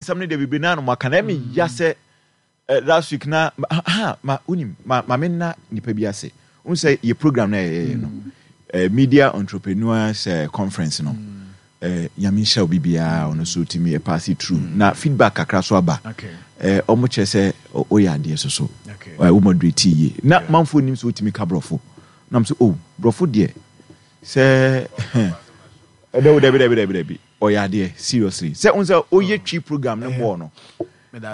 Nsɛm no deɛ bebree naa na wɔaka na ɛmi ya sɛ last week na ha ma wonim ma ma me nna nipa bi ase wohu sɛ yɛ program na yɛyɛ no media entrepreneurs conference no nyame nhyira obi biara ɔno so tumi ɛ pass it through na feedback kakra so aba ɔmo kyerɛ sɛ ɔyɛ adeɛ so so wo moderate yie na manfoɔ nim sɛ wotumi ka borɔfo nam sɛ oh borɔfo deɛ sɛ ɛdɛ dabi dabi dabi dabi Ɔyɛ adeɛ seriously sɛ wohu sɛ woyɛ twi program no mɔɔ no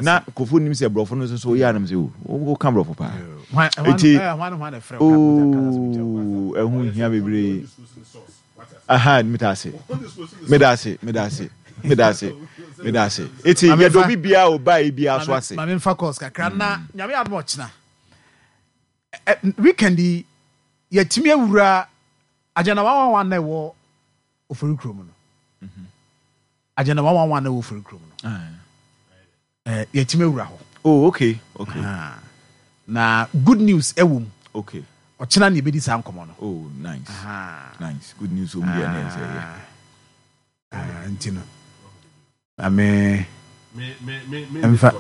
na nkurɔfoɔ nim sɛ borɔfo no nso so woyɛ anam sɛ o woka borɔfo paa nti ooo ɛho hia bebree aha meda ase meda ase meda ase meda ase meda ase nti yɛde obi biara ɔbaa yi biara so ase. Maame nfa calls kakra na nyame adom ɔkyena weekend yi yɛtumi awura agenda 111 na ɛwɔ Ofori kurom no. Agenda 111 na ɛwɔ Ofori kurom no. Eh, yɛtumi awura hɔ. Oh, okay, okay. Na good news ɛwɔ mu. Okay. Ɔkyena na yɛbɛdi saa nkɔmmɔ no. Oh, nice. Nice. Good news wɔ mu deɛ na ɛsɛ yɛ. Nti no. Ame mfa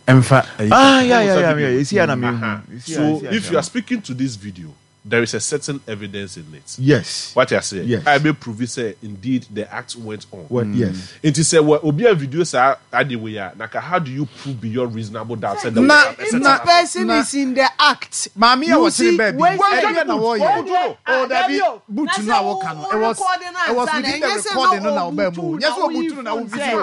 mfa. Ah, yeah, yeah, yeah, yeah. Esi ana me hu. So if you are speaking to this video, there is a certain evidence in it. Yes. What you say? Yes. I may prove it say indeed the act went on. Well, yes. Nti sɛ wɔ obi a video saa ade wei a, naka how do you prove beyond reasonable doubt sɛ there was Na a certain na act? person na is in the act. Maame a You wɔkyere see, baabi wei no, ɛdeɛ na wɔyɛ. deɛ, Oh, ah, dabi, dabi o, boot na no sɛ a wo wɔka no, wo it was recording it was ansa na within the ɛnyɛ sɛ recording na no na ɔbaa ɔbutu mu o. na Nyɛ sɛ woyi ɔbutu no na wo phone video. sɛ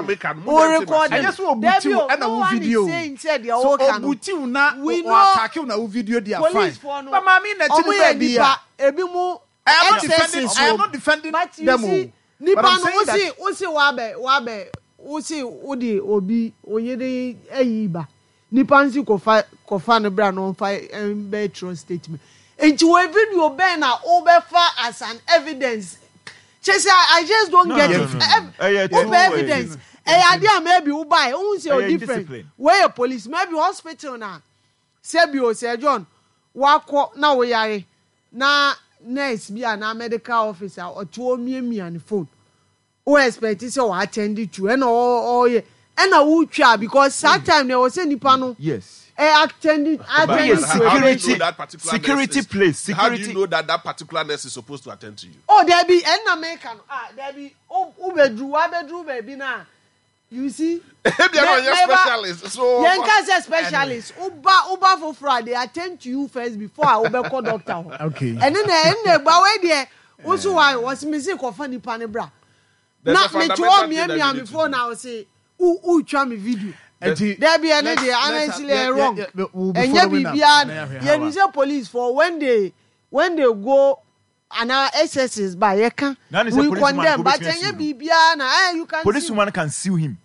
wo recording. Ɛnyɛ sɛ ɔbutu Dabi o, ɛna no wo one is video o. saying sɛ deɛ So woka no. ɔbutu na We know ɔatake wo na wo video deɛ fine. police foɔ no, But maame na ɛte ɔmo ne yɛ baabi a. nipa, ebi mo I am not defending excesses I am wɔ not defending But you them see, o. nipa But I'm no, saying wosi that wosi wabɛ wabɛ wosi wode obi oyere ayi ba. Nipa nsi kɔfa kɔfa no bra na ɔnfa mbɛ twerɛ statement. Nti wɔ video bɛn na wobɛfa as an evidence? Kyerɛ sɛ I just don't No, get no, it. no, no, no. Ɛyɛ Wopɛ too ɛyi. evidence. Ɛyɛ adeɛ a maybe wobae wohu sɛ Ɛyɛ o different. indiscipline. Wei yɛ police maybe hospital na sɛbi o Sir John wakɔ na woyare na nurse bi anaa medical officer ɔte hɔ miamia ne phone. Wo expect sɛ ɔ attend to ɛna ɔyɛ ɛna wotwa because saa time no ɛwɔ sɛ nipa no Yes. ɛ attend But attend Woyɛ to how do you security know that particular nurse security is place how do you security. know that that particular nurse is supposed to attend to you? Oh dabi ɛnna meka no ah dabi wo wobɛduru wabɛduru baabi no a you see Ebia me na ɔnyɛ meba specialist so yɛn ka sɛ specialist woba woba foforɔ a they attend to you first before a wobɛkɔ doctor hɔ Okay. ɛne na ɛne na ɛba wei deɛ woso wa wɔsi mi si kɔfa nipa ne bra There's na a mete fundamental hɔ thing that miamia we me need to phone do. na ɔse wo wotwa me video Nti dabi ɛne let's deɛ let's honestly yeah, ɛyɛ yeah, wrong yeah, we'll be ɛnyɛ following up. biribiara Na yɛahwɛ how yɛnim a. sɛ police for when they go anaa SSs ba yɛka Na ne sɛ we police woman condemn ko but betumi ɛnyɛ asiw no. biribiara na eh you can Police sue woman can sue him.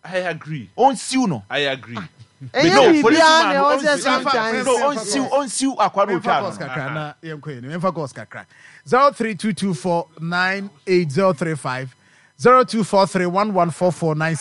I agree. Ɔnsiw no. I agree. ɛnyɛ No, police biribiara woman na no ɛwɔ sɛ ɔnsiw. sometimes No, ɔnsiw ɔnsiw akwa no Memfa otwa calls no. kakra na yɛnkɔ yɛn anim. Memfa calls kakra. 0322498035 0243114496.